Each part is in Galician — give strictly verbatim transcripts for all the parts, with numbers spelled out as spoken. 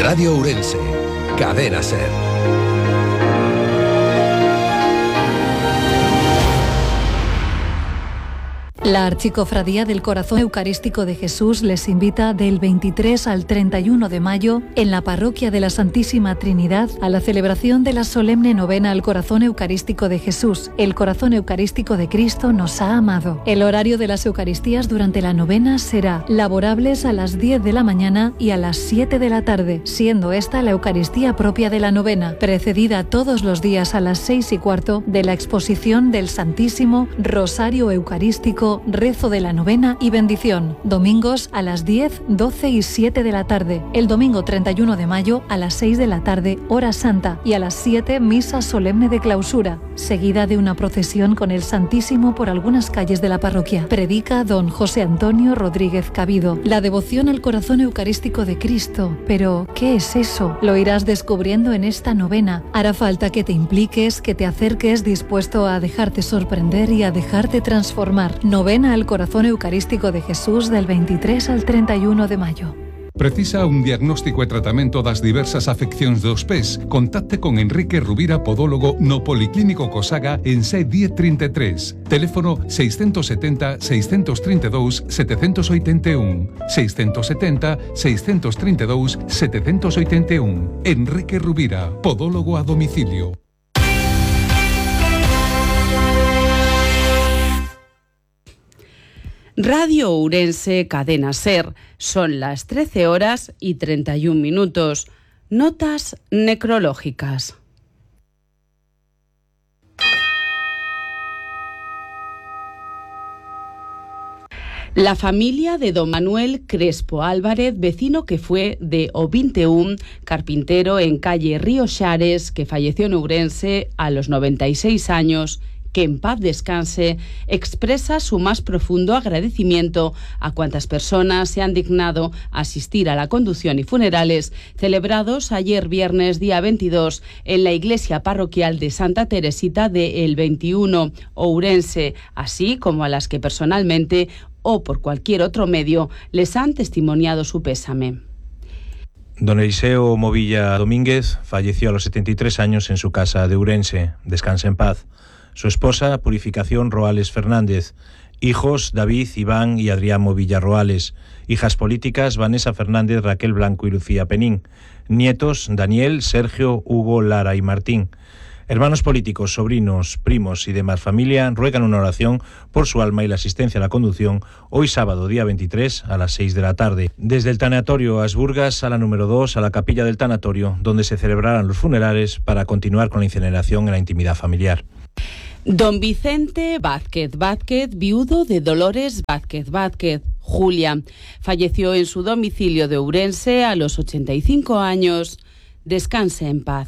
Radio Ourense, Cadena SER. La Archicofradía del Corazón Eucarístico de Jesús les invita del veintitrés al treinta y uno de mayo en la Parroquia de la Santísima Trinidad a la celebración de la solemne novena al Corazón Eucarístico de Jesús. El Corazón Eucarístico de Cristo nos ha amado. El horario de las Eucaristías durante la novena será laborables a las diez de la mañana y a las siete de la tarde, siendo esta la Eucaristía propia de la novena, precedida todos los días a las seis y cuarto de la exposición del Santísimo Rosario Eucarístico, rezo de la novena y bendición. Domingos a las diez, doce y siete de la tarde. El domingo treinta y uno de mayo a las seis de la tarde, hora santa, y a las siete, misa solemne de clausura, seguida de una procesión con el Santísimo por algunas calles de la parroquia. Predica don José Antonio Rodríguez Cabido. La devoción al Corazón Eucarístico de Cristo. Pero, ¿qué es eso? Lo irás descubriendo en esta novena. Hará falta que te impliques, que te acerques dispuesto a dejarte sorprender y a dejarte transformar. Novena al Corazón Eucarístico de Jesús del veintitrés al treinta y uno de mayo. Precisa un diagnóstico e tratamento das diversas afeccións dos pés? Contacte con Enrique Rubira, podólogo no Policlínico Cosaga en C diez treinta e tres. Teléfono seiscentos setenta, seiscentos treinta e dous, setecentos oitenta e un. seiscentos setenta, seiscentos treinta e dous, setecentos oitenta e un. Enrique Rubira, podólogo a domicilio. Radio Ourense, Cadena SER. Son las trece horas y treinta y un minutos. Notas necrológicas. La familia de don Manuel Crespo Álvarez, vecino que fue de O veintiuno, carpintero en calle Río Xares, que falleció en Ourense a los noventa y seis años, que en paz descanse, expresa su más profundo agradecimiento a cuantas personas se han dignado asistir a la conducción y funerales celebrados ayer viernes día veintidós en la iglesia parroquial de Santa Teresita de El veintiuno, Ourense, así como a las que personalmente o por cualquier otro medio les han testimoniado su pésame. Don Eliseo Movilla Domínguez falleció a los setenta y tres años en su casa de Ourense. Descansa en paz. Su esposa, Purificación Roales Fernández. Hijos, David, Iván y Adrián Movilla Roales. Hijas políticas, Vanessa Fernández, Raquel Blanco y Lucía Penín. Nietos, Daniel, Sergio, Hugo, Lara y Martín. Hermanos políticos, sobrinos, primos y demás familia ruegan una oración por su alma y la asistencia a la conducción hoy sábado, día veintitrés, a las seis de la tarde. Desde el tanatorio Asburgas, sala número dos, a la capilla del tanatorio, donde se celebrarán los funerales para continuar con la incineración en la intimidad familiar. Don Vicente Vázquez Vázquez, viudo de Dolores Vázquez Vázquez, Julia, falleció en su domicilio de Ourense a los ochenta y cinco años. Descanse en paz.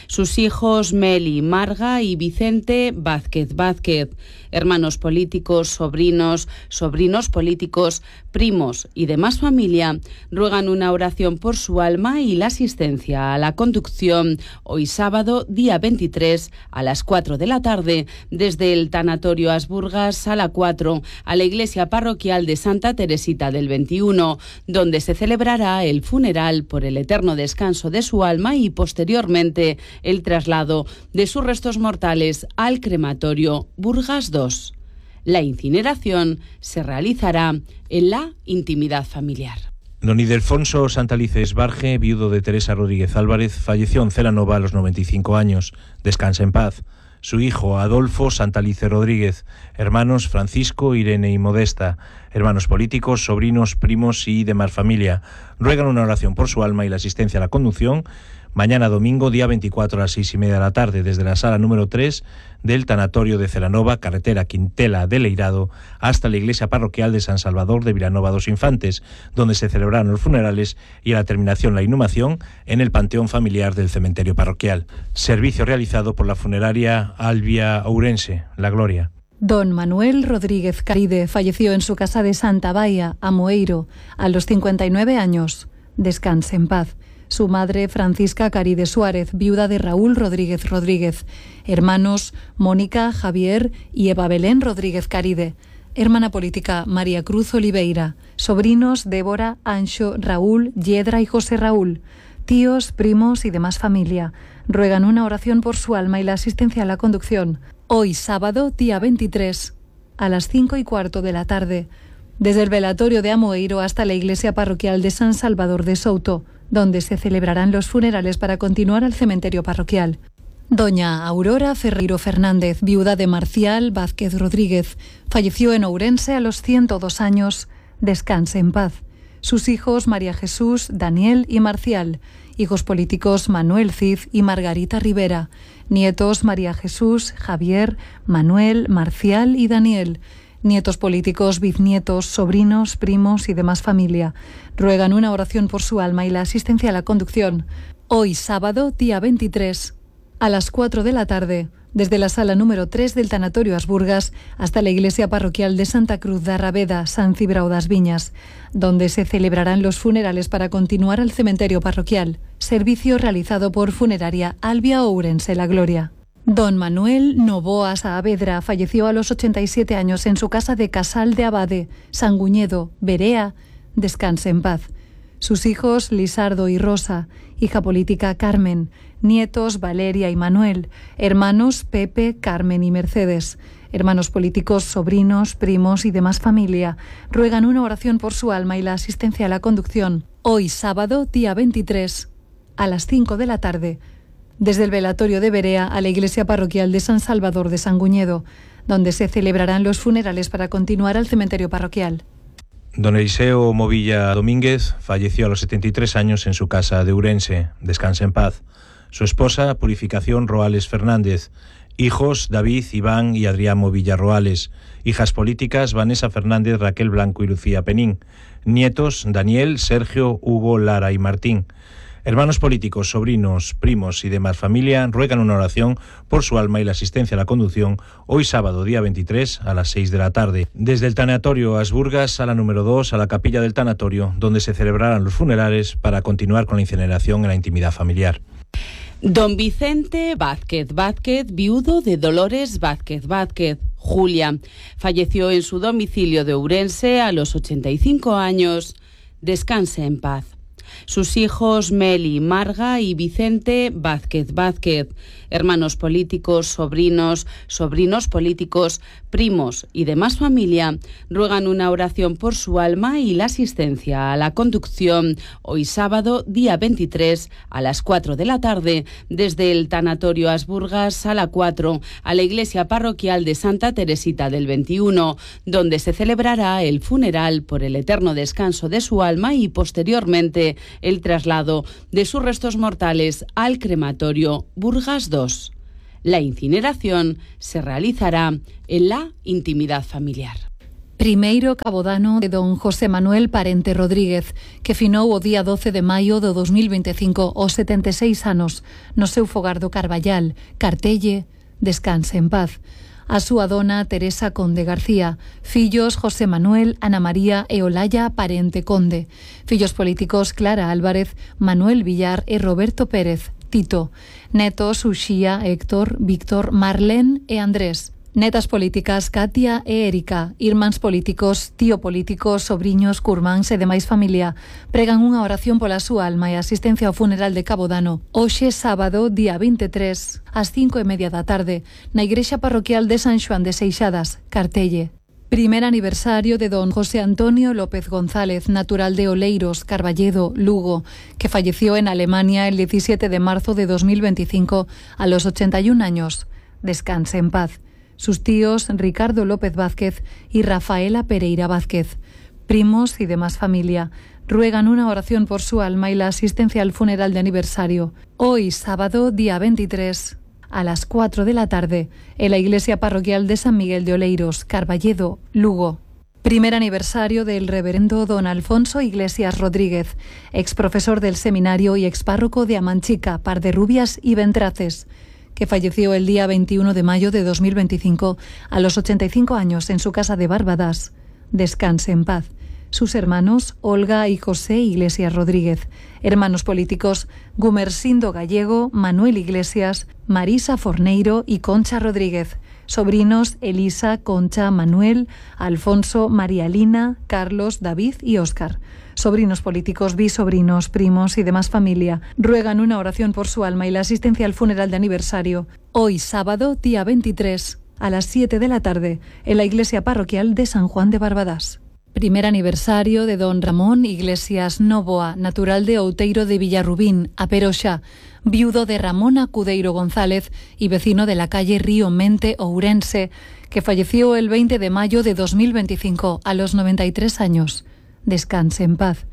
Sus hijos Meli, Marga y Vicente Vázquez Vázquez, hermanos políticos, sobrinos, sobrinos políticos, primos y demás familia, ruegan una oración por su alma y la asistencia a la conducción hoy sábado, día veintitrés, a las cuatro de la tarde, desde el tanatorio Asburgas, sala cuatro, a la iglesia parroquial de Santa Teresita del veintiuno, donde se celebrará el funeral por el eterno descanso de su alma y posteriormente el traslado de sus restos mortales al crematorio Burgas dos. La incineración se realizará en la intimidad familiar. Don Ildefonso Santalices Barge, viudo de Teresa Rodríguez Álvarez, falleció en Celanova a los noventa y cinco años. Descansa en paz. Su hijo Adolfo Santalice Rodríguez, hermanos Francisco, Irene y Modesta, hermanos políticos, sobrinos, primos y demás familia, ruegan una oración por su alma y la asistencia a la conducción mañana domingo, día veinticuatro, a las seis y media de la tarde, desde la sala número tres del tanatorio de Celanova, carretera Quintela de Leirado, hasta la iglesia parroquial de San Salvador de Vilanova dos Infantes, donde se celebrarán los funerales y a la terminación la inhumación en el panteón familiar del cementerio parroquial. Servicio realizado por la funeraria Albia Ourense, La Gloria. Don Manuel Rodríguez Caride falleció en su casa de Santa Baia, Amoeiro, a los cincuenta y nueve años. Descanse en paz. Su madre, Francisca Caride Suárez, viuda de Raúl Rodríguez Rodríguez. Hermanos, Mónica, Javier y Eva Belén Rodríguez Caride. Hermana política, María Cruz Oliveira. Sobrinos, Débora, Anxo, Raúl, Yedra y José Raúl. tíos, primos y demás familia. Ruegan una oración por su alma y la asistencia a la conducción. Hoy, sábado, día veintitrés, a las cinco y cuarto de la tarde, desde el velatorio de Amoeiro hasta la iglesia parroquial de San Salvador de Souto, donde se celebrarán los funerales para continuar al cementerio parroquial. Doña Aurora Ferreiro Fernández, viuda de Marcial Vázquez Rodríguez, falleció en Ourense a los ciento dos años. Descanse en paz. Sus hijos María Jesús, Daniel y Marcial. Hijos políticos Manuel Cid y Margarita Rivera. Nietos María Jesús, Javier, Manuel, Marcial y Daniel. Nietos políticos, bisnietos, sobrinos, primos y demás familia. Ruegan una oración por su alma y la asistencia a la conducción. Hoy, sábado, día veintitrés, a las cuatro de la tarde, desde la sala número tres del Tanatorio Asburgas hasta la iglesia parroquial de Santa Cruz de Arraveda, San Cibrao das Viñas, donde se celebrarán los funerales para continuar al cementerio parroquial. Servicio realizado por Funeraria Albia Ourense La Gloria. Don Manuel Novoa Saavedra falleció a los ochenta y siete años en su casa de Casal de Abade, Sanguñedo, Berea. Descanse en paz. Sus hijos Lisardo y Rosa, hija política Carmen, nietos Valeria y Manuel, hermanos Pepe, Carmen y Mercedes, hermanos políticos, sobrinos, primos y demás familia, ruegan una oración por su alma y la asistencia a la conducción. Hoy, sábado, día veintitrés, a las cinco de la tarde, desde el velatorio de Berea a la iglesia parroquial de San Salvador de Sanguñedo, donde se celebrarán los funerales para continuar al cementerio parroquial. Don Eliseo Movilla Domínguez falleció a los setenta y tres años en su casa de Ourense. Descanse en paz. Su esposa, Purificación Roales Fernández. Hijos, David, Iván y Adrián Movilla Roales. Hijas políticas, Vanessa Fernández, Raquel Blanco y Lucía Penín. Nietos, Daniel, Sergio, Hugo, Lara y Martín. Hermanos políticos, sobrinos, primos y demás familia ruegan una oración por su alma y la asistencia a la conducción hoy sábado, día veintitrés, a las seis de la tarde. Desde el Tanatorio Asburgas, sala número dos, a la capilla del tanatorio, donde se celebrarán los funerales para continuar con la incineración en la intimidad familiar. Don Vicente Vázquez Vázquez, viudo de Dolores Vázquez Vázquez, Julia, falleció en su domicilio de Ourense a los ochenta y cinco años. Descanse en paz. Sus hijos Meli, Marga y Vicente Vázquez Vázquez, hermanos políticos, sobrinos, sobrinos políticos, primos y demás familia, ruegan una oración por su alma y la asistencia a la conducción hoy sábado, día veintitrés, a las cuatro de la tarde, desde el Tanatorio Asburgas, sala cuatro, a la iglesia parroquial de Santa Teresita del veintiuno, donde se celebrará el funeral por el eterno descanso de su alma y posteriormente el traslado de sus restos mortales al crematorio Burgas dos. La incineración se realizará en la intimidad familiar. Primeiro cabodano de don José Manuel Parente Rodríguez, que finou o día doce de maio do dos mil veinticinco aos setenta e seis anos no seu fogar do Carballal, Cartelle. Descanse en paz. A súa dona Teresa Conde García, fillos José Manuel, Ana María e Olaya Parente Conde, fillos políticos Clara Álvarez, Manuel Villar e Roberto Pérez, Tito, netos Uxía, Héctor, Víctor, Marlén e Andrés, netas políticas Katia e Erika, irmáns políticos, tío político, sobriños, curmáns e demais familia, pregan unha oración pola súa alma e asistencia ao funeral de Cabodano hoxe sábado, día veintitrés, ás cinco e media da tarde, na igrexa parroquial de San Xoán de Seixadas, Cartelle. Primer aniversario de don José Antonio López González, natural de Oleiros, Carballedo, Lugo, que falleció en Alemania el diecisiete de marzo de dos mil veinticinco a los ochenta y un años. Descanse en paz. Sus tíos Ricardo López Vázquez y Rafaela Pereira Vázquez, primos y demás familia, ruegan una oración por su alma y la asistencia al funeral de aniversario hoy sábado, día veintitrés, a las cuatro de la tarde, en la iglesia parroquial de San Miguel de Oleiros, Carballedo, Lugo. Primer aniversario del reverendo don Alfonso Iglesias Rodríguez, ex profesor del seminario y ex párroco de Amanchica, Parderrubias y Ventraces, que falleció el día veintiuno de mayo de dos mil veinticinco a los ochenta y cinco años en su casa de Barbadas. Descanse en paz. Sus hermanos, Olga y José Iglesias Rodríguez, hermanos políticos, Gumersindo Gallego, Manuel Iglesias, Marisa Forneiro y Concha Rodríguez, sobrinos Elisa, Concha, Manuel, Alfonso, María Lina, Carlos, David y Óscar. Sobrinos políticos, bisobrinos, primos y demás familia ruegan una oración por su alma y la asistencia al funeral de aniversario. Hoy, sábado, día veintitrés, a las siete de la tarde, en la iglesia parroquial de San Juan de Barbadas. Primer aniversario de don Ramón Iglesias Novoa, natural de Outeiro de Villarrubín, a Peroxa, viudo de Ramona Cudeiro González y vecino de la calle Río Mente, Ourense, que falleció el veinte de mayo de dos mil veinticinco a los noventa y tres años. Descanse en paz.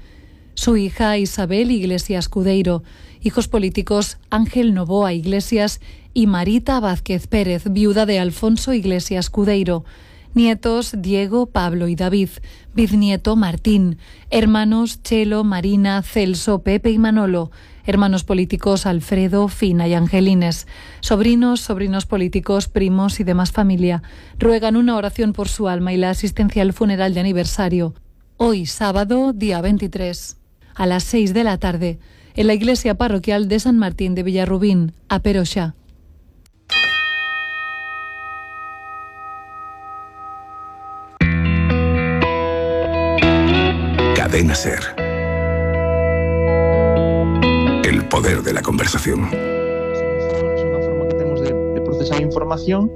Su hija Isabel Iglesias Cudeiro, hijos políticos Ángel Novoa Iglesias y Marita Vázquez Pérez, viuda de Alfonso Iglesias Cudeiro. Nietos Diego, Pablo y David, bisnieto Martín, hermanos Chelo, Marina, Celso, Pepe y Manolo, hermanos políticos Alfredo, Fina y Angelines, sobrinos, sobrinos políticos, primos y demás familia, ruegan una oración por su alma y la asistencia al funeral de aniversario. Hoy, sábado, día veintitrés, a las seis de la tarde, en la iglesia parroquial de San Martín de Villarrubín, a Peroxa. Cadena SER. El poder de la conversación. É unha forma que temos de, de procesar información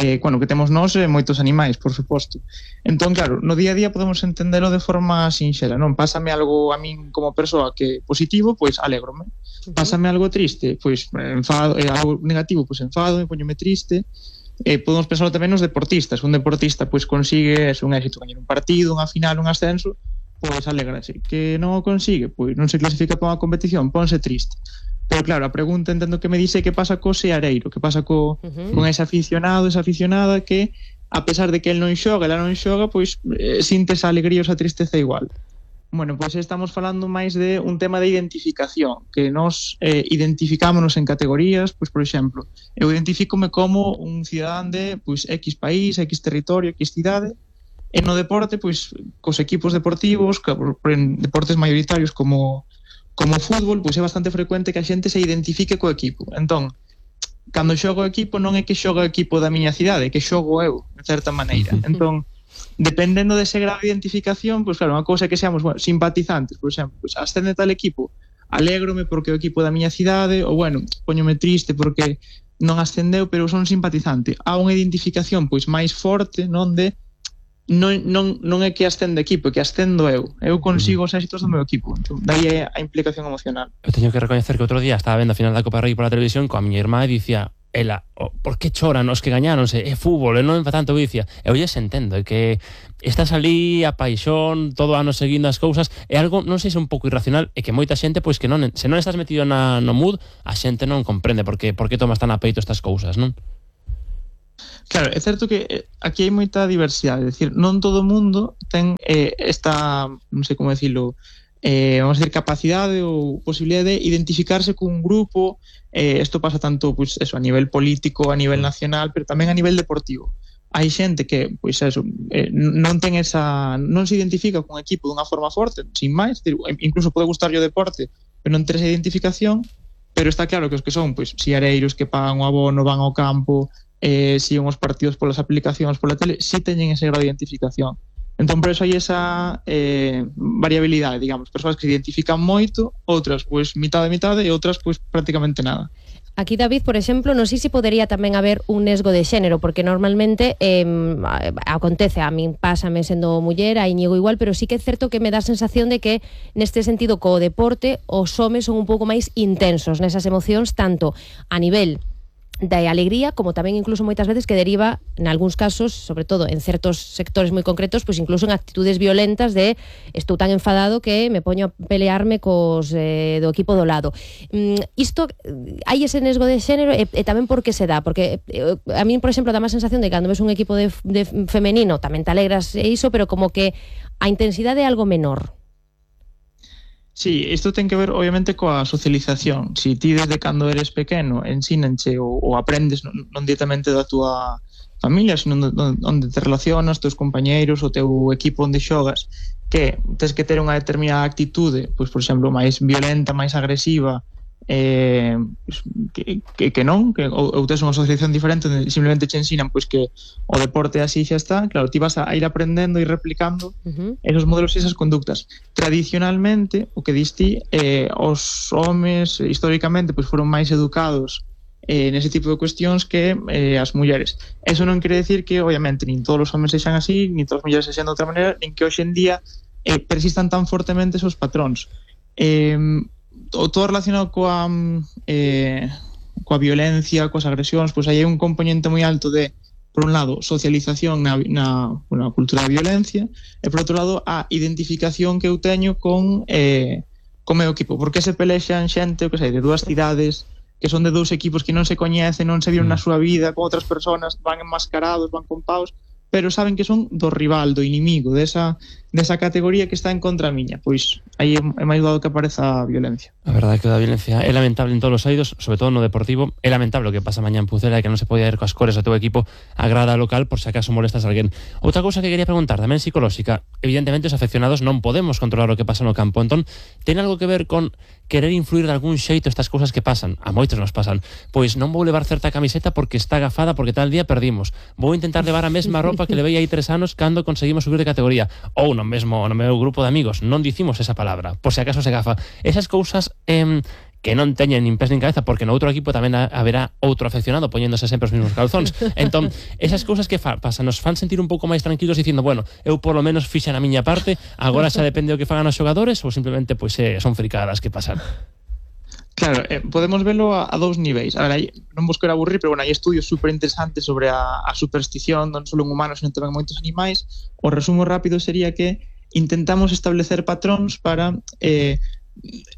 eh, bueno, que temos nós e moitos animais, por suposto. Entón, claro, no día a día podemos entendelo de forma sinxela, non? Pásame algo a min como persoa que positivo, pois alégrome. Pásame algo triste, pois enfado, eh, algo negativo, pois enfado, me poñome triste. Eh, podemos pensar tamén nos deportistas. Un deportista pois consigue es un éxito, gañar un partido, unha final, un ascenso, pois alégrase. Que non o consigue, pois non se clasifica para unha competición, ponse triste. Pero claro, a pregunta entendo que me dice que pasa co seareiro, que pasa co, uh-huh. con ese aficionado, esa aficionada que, a pesar de que el non xoga, ela non xoga, pois eh, sinte esa alegría ou esa tristeza igual. Bueno, pois estamos falando máis de un tema de identificación, que nos eh, identificámonos en categorías, pois por exemplo, eu identifícome como un cidadán de pois X país, X territorio, X cidade, e no deporte, pois cos equipos deportivos, que, en deportes maioritarios como como fútbol, pois é bastante frecuente que a xente se identifique co equipo. Entón, cando xogo o equipo non é que xogo o equipo da miña cidade, é que xogo eu, de certa maneira. Entón, dependendo dese grado de identificación, pois claro, unha cousa é que seamos bueno, simpatizantes, por exemplo, pois ascende tal equipo, alégrome porque o equipo da miña cidade, ou bueno, poñome triste porque non ascendeu, pero son simpatizante. Há unha identificación pois máis forte, non de non, non, non é que ascende equipo, é que ascendo eu. Eu consigo os éxitos do meu equipo. Entón, daí é a implicación emocional. Eu teño que recoñecer que outro día estaba vendo a final da Copa Rei pola televisión coa miña irmá e dicía ela, oh, por que choran os que gañáronse? É fútbol, e non é tanto, dicía. Eu lles entendo, é que estás ali a paixón, todo ano seguindo as cousas, é algo, non sei se un pouco irracional, é que moita xente, pois que non, se non estás metido na, no mood, a xente non comprende por que, por que tomas tan a peito estas cousas, non? Claro, é certo que aquí hai moita diversidade, é dicir, non todo o mundo ten eh, esta, non sei como decirlo, eh, vamos a decir, capacidade ou posibilidade de identificarse cun grupo. Eh, isto pasa tanto pois, eso, a nivel político, a nivel nacional, pero tamén a nivel deportivo. Hai xente que, pois eso, eh, non ten esa, non se identifica cun equipo dunha forma forte, sin máis, decir, incluso pode gustar o deporte, pero non ter esa identificación, pero está claro que os que son, pois, siareiros que pagan o abono, van ao campo, eh, siguen os partidos polas aplicacións, pola tele, si teñen ese grado de identificación. Entón, por eso hai esa eh, variabilidade, digamos, persoas que se identifican moito, outras, pois, mitad de mitad, e outras, pois, prácticamente nada. Aquí, David, por exemplo, non sei se podería tamén haber un nesgo de xénero, porque normalmente eh, acontece, a min pásame sendo muller, a Íñigo igual, pero sí que é certo que me dá a sensación de que neste sentido co deporte os homes son un pouco máis intensos nesas emocións, tanto a nivel da alegría, como tamén incluso moitas veces que deriva, en algúns casos, sobre todo en certos sectores moi concretos, pois incluso en actitudes violentas de estou tan enfadado que me poño a pelearme cos eh, do equipo do lado. Mm, isto, hai ese nesgo de xénero e, e tamén por que se dá, porque eh, a mí, por exemplo, dá má sensación de que cando ves un equipo de, de femenino tamén te alegras e iso, pero como que a intensidade é algo menor. Sí, isto ten que ver obviamente coa socialización. Si ti desde cando eres pequeno ensínanche ou, ou aprendes non, non directamente da túa familia, sino onde te relacionas, teus compañeiros, o teu equipo onde xogas, que tens que ter unha determinada actitude, pois por exemplo, máis violenta, máis agresiva, eh, que, que, que non, que ou, ou tes unha asociación diferente onde simplemente che ensinan pois que o deporte así xa está, claro, ti vas a ir aprendendo e replicando uh-huh. esos modelos e esas conductas. Tradicionalmente, o que diste, eh, os homes históricamente pois foron máis educados eh, nese tipo de cuestións que eh, as mulleres. Eso non quere decir que, obviamente, nin todos os homes sexan así, nin todas as mulleres sexan de outra maneira, nin que hoxe en día eh, persistan tan fortemente esos patróns. Eh, todo relacionado coa eh, coa violencia, coas agresións, pois aí hai un componente moi alto de, por un lado, socialización na, na, na cultura da violencia e, por outro lado, a identificación que eu teño con eh, con meu equipo, porque se pelexan xente, que sei, de dúas cidades que son de dous equipos que non se coñecen, non se viron na súa vida con outras persoas, van enmascarados, van con paus, pero saben que son do rival, do inimigo, desa, desa categoría que está en contra miña. Pois aí é máis dado que apareza a violencia. A verdade é que a violencia é lamentable en todos os eidos, sobre todo no deportivo. É lamentable o que pasa mañá en Pucela e que non se podía ir coas cores do teu equipo a grada local por se acaso molestas a alguén. Outra cousa que quería preguntar, tamén psicolóxica. Evidentemente os afeccionados non podemos controlar o que pasa no campo. Entón, ten algo que ver con querer influir de algún xeito estas cousas que pasan? A moitos nos pasan. Pois non vou levar certa camiseta porque está agafada porque tal día perdimos. Vou intentar levar a mesma roupa que levei aí tres anos cando conseguimos subir de categoría. Ou no mesmo no meu grupo de amigos non dicimos esa palabra, por se acaso se gafa. Esas cousas eh, que non teñen nin pés nin cabeza, porque no outro equipo tamén haberá outro afeccionado poñéndose sempre os mesmos calzóns. Entón, esas cousas que fa, pasan nos fan sentir un pouco máis tranquilos dicindo, bueno, eu por lo menos fixen a miña parte, agora xa depende do que fagan os xogadores ou simplemente pois eh, son fricadas que pasan. Claro, eh, podemos verlo a, a dous niveis. A ver, hai, non vos quero aburrir, pero bueno, hai estudios super interesantes sobre a, a superstición, non só en humanos, sino tamén en moitos animais. O resumo rápido sería que intentamos establecer patróns para eh,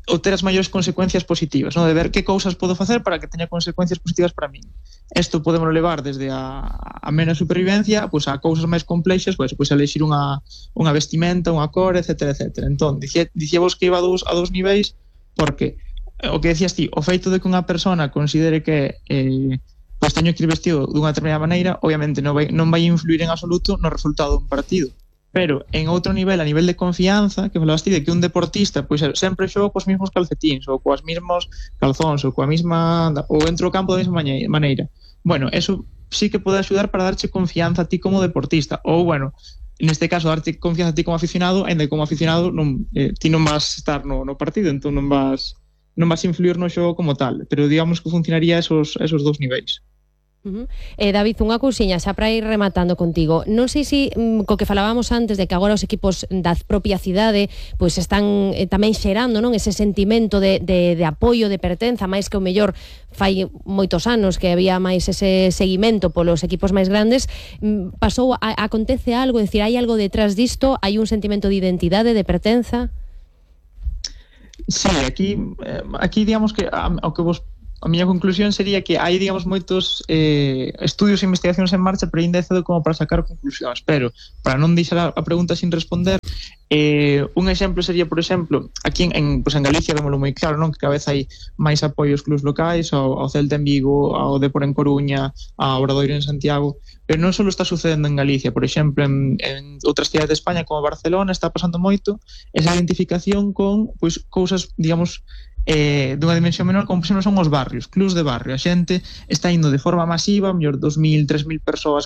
obter as maiores consecuencias positivas, ¿no? De ver que cousas podo facer para que teña consecuencias positivas para min. Isto podemos levar desde a, a menos supervivencia pues, a cousas máis complexas, pues, pues, a elexir unha, unha vestimenta, unha cor, etcétera, etcétera. Entón, dicía, dicíamos que iba a dous, a dous niveis porque o que decías ti, o feito de que unha persona considere que eh, pues, teño que ir vestido dunha determinada maneira, obviamente non vai, non vai influir en absoluto no resultado dun partido. Pero en outro nivel, a nivel de confianza, que falabas ti de que un deportista pois sempre xoga cos mesmos calcetíns ou coas mesmos calzóns ou coa mesma ou entro ao campo da mesma maneira. Bueno, eso sí que pode axudar para darche confianza a ti como deportista ou, bueno, neste caso, darte confianza a ti como aficionado, ainda como aficionado non, eh, ti non vas estar no, no partido, entón non vas non vas influir no xogo como tal, pero digamos que funcionaría esos, esos dous niveis. Uh-huh. Eh, David, unha cousiña xa para ir rematando contigo. Non sei se mm, co que falábamos antes de que agora os equipos da propia cidade pois están eh, tamén xerando, non, ese sentimento de, de, de apoio, de pertenza, máis que o mellor fai moitos anos que había máis ese seguimento polos equipos máis grandes. Mm, pasou, a, acontece algo, é dicir, hai algo detrás disto, hai un sentimento de identidade, de pertenza? Sí, aquí eh, aquí digamos que ao que vos a miña conclusión sería que hai, digamos, moitos eh, estudios e investigacións en marcha, pero ainda é cedo como para sacar conclusións. Pero, para non deixar a pregunta sin responder, eh, un exemplo sería, por exemplo, aquí en, en, pues en Galicia, vémolo moi claro, non? Que cada vez hai máis apoio aos clubs locais, ao, ao Celta en Vigo, ao Depor en Coruña, ao Obradoiro en Santiago, pero non só está sucedendo en Galicia, por exemplo, en, en outras cidades de España, como Barcelona, está pasando moito esa identificación con, pois, cousas, digamos, eh, dunha dimensión menor, como por exemplo son os barrios, clubs de barrio. A xente está indo de forma masiva, mellor dos mil, tres mil persoas